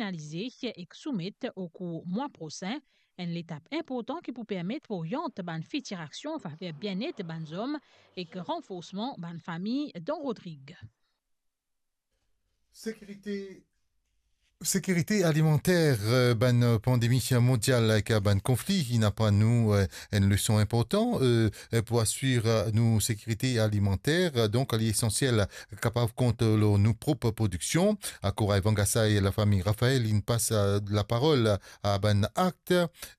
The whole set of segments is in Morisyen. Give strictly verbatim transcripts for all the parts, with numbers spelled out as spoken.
finalize ek soumet okour mwa prosin, enn letap inportan ki pou permet oryant bann fitir aksion anfaver bienet bann zom ek ranforsman bann fami dan Rodrig. Sekirite, sekirite alimanter, eh, bann pandemi mondial ek bann konfli, inn aprann nou, eh, enn leson inportan, eh, eh, pou asir, eh, nou sekirite alimanter. Donk, li esansiel kapav kont lor nou prop prodiksion. Akour Vangasai, lafami Raphaël inn pas, eh, laparol a bann akt,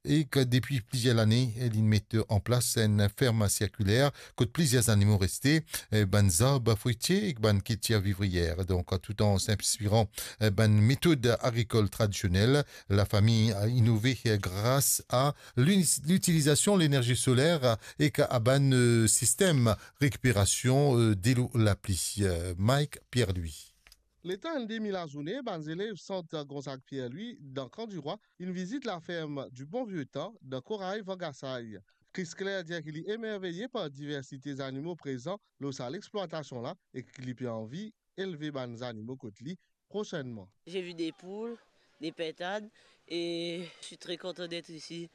ek depi plizier lane, li met an plas enn ferm sirkiler kot plizier zanimo reste, eh, bann zarb fritie ek bann kiltir vivrier. Donk, tout an inspiran, eh, bann metod agrikol tradisionel, lafami a inove, eh, gras a lini-, litilizasion lenerzi soler, eh, ek a bann, eh, sistem rekiperasion, eh, delo lapli. Eh, Mike Pierre-Louis. Letan enn demi lazourne, bann zelev Sant Gonzague Pierre-Louis dan Kan Dirwa inn vizit laferm du Bon Vieux Temps dan Koray Vangasai. Chris Claire dir ki li emerveye par diversite zanimo prezan lor sa lexplwatasion la e ki li pe anvi elve bann zanimo kot li prosennman. J'ai vu des poules, des pintades et je suis très content d'être ici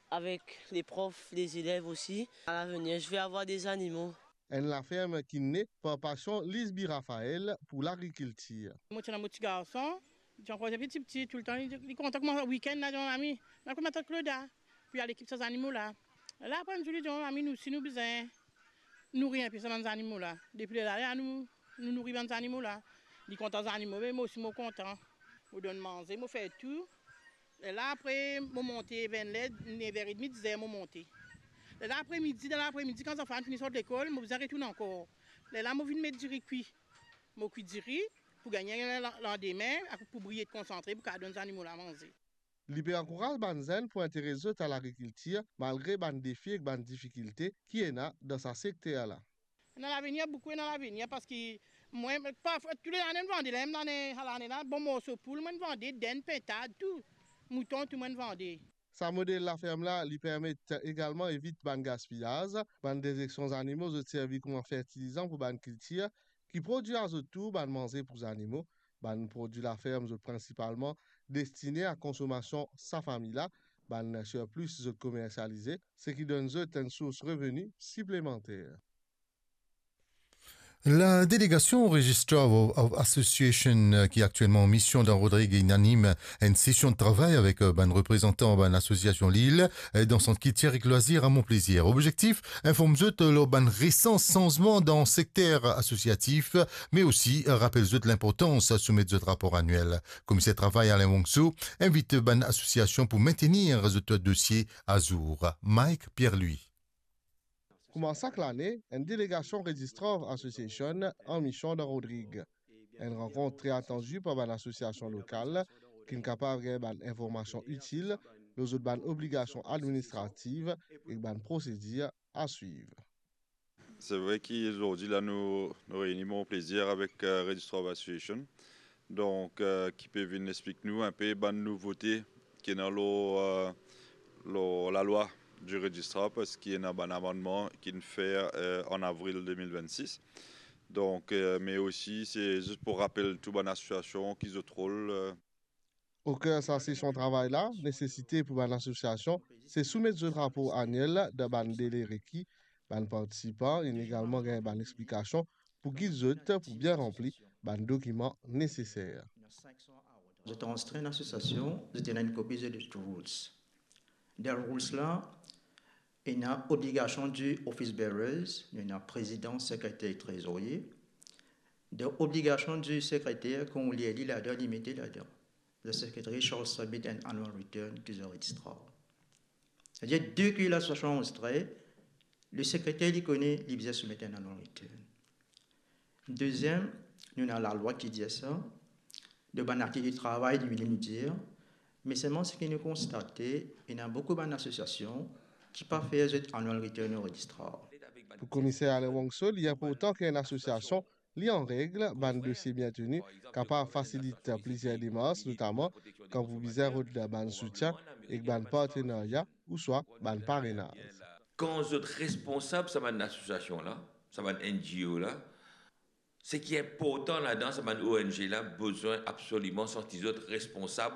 avec les profs, les élèves aussi. À l'avenir, je vais avoir des animaux. Enn laferm ki ne par pasion Lisby Raphaël pou lagrikiltir. Mo ti ena mo ti garson, li ti ankor tipti, tipti, toultan li, li kontan kouma wikenn la, li dir, "Mami, nou al kot matant Claude, pou al ekip sa zanimo la." La, apre enn zour, li dir, "Mami, nou, si nou bizin nouri inpe sa bann zanimo la, depi lerla, nou, nou nouri bann zanimo la." Li kontan zanimo, me mo osi mo kontan. Mo donn manze, mo fer tou. Lerla apre, mo monte, vinn ler, nev er edmi, diz er mo monte. Lerla apre midi, dan lapre midi, kan zanfan fini sort lekol, mo bizin retourn ankor. Lerla mo vinn met diri kwi. Mo kwi diri pou gagn la-, landime, pou briye konsantre, pou kapav donn zanimo la manze. Li pe ankouraz bann zenn pou interes zot a lagrikiltir, malgre bann defi ek bann difikilte ki ena dan sa sekter la. Ena lavenir, boukou ena lavenir, parski mwa, parfwa, tou le lane, mo vande, la, mem lane, sa lane la, bon morso poul, mo vande, dinn, pintad, tou, mouton, tou, mo vande. Sa model laferm la, li permet egalman evit bann gaspiyaz. Bann dezeksion zanimo, zot servi kouma fertilizan pou bann kiltir, ki prodwir a zot tour bann manze pou zanimo. Bann prodwi laferm, zot prinsipalman destine a konsomasion sa fami la. Bann sirplis, zot komersialize, seki donn zot enn sours reveni siplemanter. La delegasion Registrar of, of Association, eh, ki aktielman an mision dan Rodrig, inn anim enn sesion de travay avek, eh, bann reprezantan bann asosiasion Lil, eh, dan Sant Kiltir ek Lwazir a Mont Plaisir. Objektif, inform zot lor bann resan sanzman dan sekter asosiatif, me osi rapel zot linportans soumet zot rapor aniel. Komiser travay Alain Wongso invit bann asosiasion pou mintenir zot dosie azour. Mike Pierre-Louis. Kouma sak lane, enn delegasion Registrar of Association an mision dan Rodrig. Enn rankont tre atandi par bann asosiasion lokal, ki'nn kapav gagn bann informasion itil lor zot bann obligasion administrativ ek bann prosedir a swiv. Se vre ki zordi la nou, nou reyni Mont Plaisir avek, eh, Registrar of Association. Donk, eh, ki pe vinn explik nou inpe bann nouvote ki ena lor, eh, lor lalwa di Registrar, parski ena bann amannman ki'nn fer, eh, an avril de mil vennsis. Donk, eh, me osi, se zis pou rapel tou bann asosiasion ki zot rol, eh, Oker sa sesion travay la, nesesite pou bann asosiasion, se soumet zot rapor aniel dan bann dele reki. Bann partisipan inn egalman gagn bann explikasion pou gid zot pou bien ranpli bann dokiman neseser. Zot anrezistre enn asosiasion, zot ena enn kopi zot rules. Dan rules la, ena obligasion di office bearers, nou ena prezidan, sekreter, trezorie. Dan obligasion di sekreter, kan ou lir li ladan, li mete ladan, the secretary shall submit an annual return to the registrar. Savedir, depi lasosiasion anrezistre, le sekreter, li kone, li bizin soumet enn annual return. Deziem, nou ena lalwa ki dir sa, dan bann aktivite travay, li vinn nou dir, me selman seki nou konstate, ena boukou bann asosiasion ki pa fer zot annual return o registrar. Pou Komiser Alain Wongso, li inportan ki enn asosiasion li an reg, bann dosie bien teni, kapav fasilit plizier demars, notaman kan pou bizin rod bann soutien ek bann partenarya ouswa bann parenaz. Kan zot responsab sa bann asosiasion la, sa bann N G O la, seki inportan ladan, sa bann O N G la bizin absoliman santi zot responsab